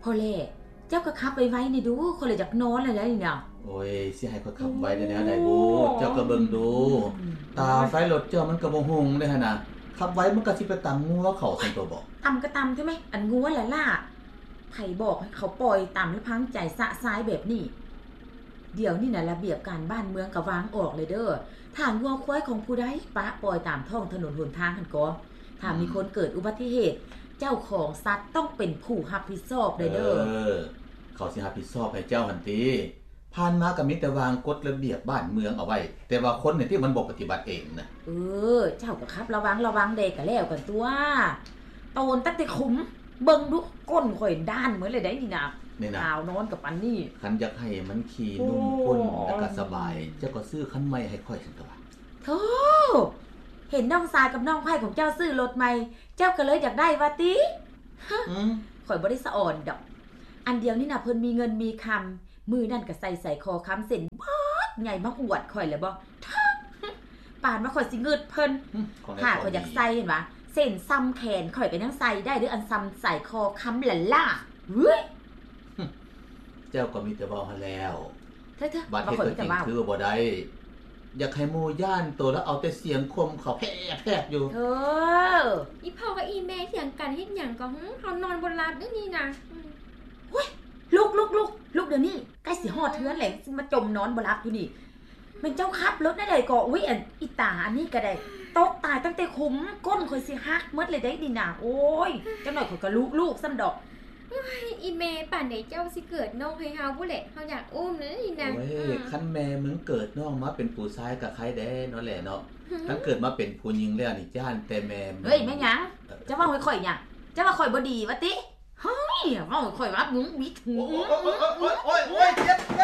ພໍແລ້ວ ເຈົ້າກໍຂັບໄວໆແດ່ດູ ຂ້ອຍລະຢາກນອນແລ້ວນີ້ນະ. ໂອ້ຍ ຊິໃຫ້ຂ້ອຍຂັບໄວໄດ້ແນວໃດບຸ? ເຈົ້າກໍເບິ່ງດູ ຕາໄຟລົດເຈົ້າມັນກໍບໍ່ຮຸ່ງເດ້ຫັ້ນນະ ຂັບໄວມັນກໍຊິໄປຕຳງົວເຂົາຊັ້ນຕົວບໍ? ຕຳກໍຕຳແທ້ແມະ ອັນງົວລະລາດ ໃຜບອກໃຫ້ເຂົາປ່ອຍຕາມລຳພັງໃຈຊະຊາຍແບບນີ້? ດຽວນີ້ນະ ລະບຽບການບ້ານເມືອງກໍວາງອອກແລ້ວເດີ. ຖ້າງົວຄວາຍຂອງຜູ້ໃດປະປ່ອຍຕາມທ້ອງຖະໜົນຫົນທາງຫັ້ນກໍ ຖ້າມີຄົນເກີດອຸບັດຕິເຫດ ເຈົ້າຂອງສັດຕ້ອງເປັນຜູ້ຮັບຜິດຊອບໄດ້ເດີ. ເອີ ເຂົາຊິຮັບຜິດຊອບໃຫ້ເຈົ້າຫັ້ນຕິ? ຜ່ານມາກໍມີແຕ່ວາງກົດລະບຽບບ້ານເມືອງເອົາໄວ້ ແຕ່ວ່າຄົນນີ້ຕິມັນບໍ່ປະຕິບັດເອງນະ. ເອີ ເຈົ້າກໍຂັບລະວັງລະວັງແດ່ກໍແລ້ວກັນຕົວະ. ໂຕນຕັ້ງແຕ່ຂຸມ ເບິ່ງດູ ກົ້ນຂ້ອຍດ້ານໝົດເລີຍໄດ໋ນີ້ນະ. ນີ້ນະ ຫາວນອນກັບປານນີ້ ຄັນຢາກໃຫ້ມັນຂີ່ນຸ່ມກົ້ນແລ້ວກໍສະບາຍ ເຈົ້າກໍຊື້ຄັນໃໝ່ໃຫ້ຂ້ອຍຊັ້ນຕົວະ. ໂທ້ ເຫັນນ້ອງຊາຍກັບນ້ອງໃພ້ຂອງເຈົ້າຊື້ລົດໃໝ່ ເຈົ້າກໍເລີຍຢາກໄດ້ວ່າຕິ? ຮະ ອືມ ຂ້ອຍບໍ່ໄດ້ສະອອນດອກ. ອັນດຽວນີ້ນະເພິ່ນມີເງິນມີຄຳ ມື້ນັ້ນກໍໃສ່ໄຊຄໍຄຳເສັ້ນບັກໃຫຍ່ມາອວດຂ້ອຍແລ້ວບໍ? ເຖິງ ປານວ່າຂ້ອຍຊິງຶດເພິ່ນ. ຫາ ຂ້ອຍຢາກໃສ່ຫັ້ນຫວາ ເສັ້ນຊ່ຳແຂນຂ້ອຍກໍຍັງໃສ່ໄດ້ເດີ້ ອັນຊ່ຳໄຊຄໍຄຳຫຼ້າໆ. ເວີ້ຍ ເຈົ້າກໍມີແຕ່ເວົ້າຫັ້ນແລ້ວ. ເທີໆ ບາດເຮັດຕົວຈິງຄືບໍ່ໄດ້ ຢາກໃຫ້ໝູ່ຢ້ານໂຕ ລະເອົາແຕ່ສຽງຂົ່ມເຂົາແພບໆຢູ່. ເທີ ອີ່ພໍ່ກັບອີ່ແມ່ຖຽງກັນເຮັດຫຍັງກໍຫື ເຮົານອນບໍ່ຫຼັບເດ້ນີ້ນະ. ອືມ ໂອ້ຍ ລຸກໆໆ ລຸກດຽວນີ້ ໃກ້ຊິຮອດເຮືອນແລ້ວ ຊິມາຈົມນອນບໍ່ຫຼັບຢູ່ນີ້. ແມ່ນເຈົ້າຂັບລົດແນວໃດກໍ? ອຸ້ຍ ອັນອີຕາອັນນີ້ກໍໄດ້ ຕົກຕາຍຕັ້ງແຕ່ຂຸມ ກົ້ນຂ້ອຍຊິຫັກໝົດເລີຍເດ້ນີ້ນະ. ໂອ້ຍ ຈັກໜ້ອຍຂ້ອຍກໍລຸກໆຊ້ຳດອກ. ໂອ້ຍ ອີ່ແມ່ ປານໃດເຈົ້າຊິເກີດນ້ອງໃຫ້ເຮົາພຸ້ນແຫຼະ ເຮົາຢາກອຸ້ມເລີຍນີ້ນະ. ໂອ້ຍ ຄັນແມ່ມຶງເກີດນ້ອງມາເປັນຜູ້ຊາຍກໍໄຄແດ່ເນາະແຫຼະເນາະ. ຄັນເກີດມາເປັນຜູ້ຍິງແລ້ວນີ້ ຢ້ານແຕ່ແມ່ມຶງ. ເຮີ້ຍ ແມ່ນຫຍັງ? ເຈົ້າເວົ້າໃຫ້ຂ້ອຍຫຍັງ? ເຈົ້າວ່າຂ້ອຍບໍ່ດີວ່າຕິ? ເຮີ້ຍ ເວົ້າໃຫ້ຂ້ອຍວ່າມຶງບິດຫູ. ໂອ້ຍ ໂອ້ຍ ເຈັບ ເຈັ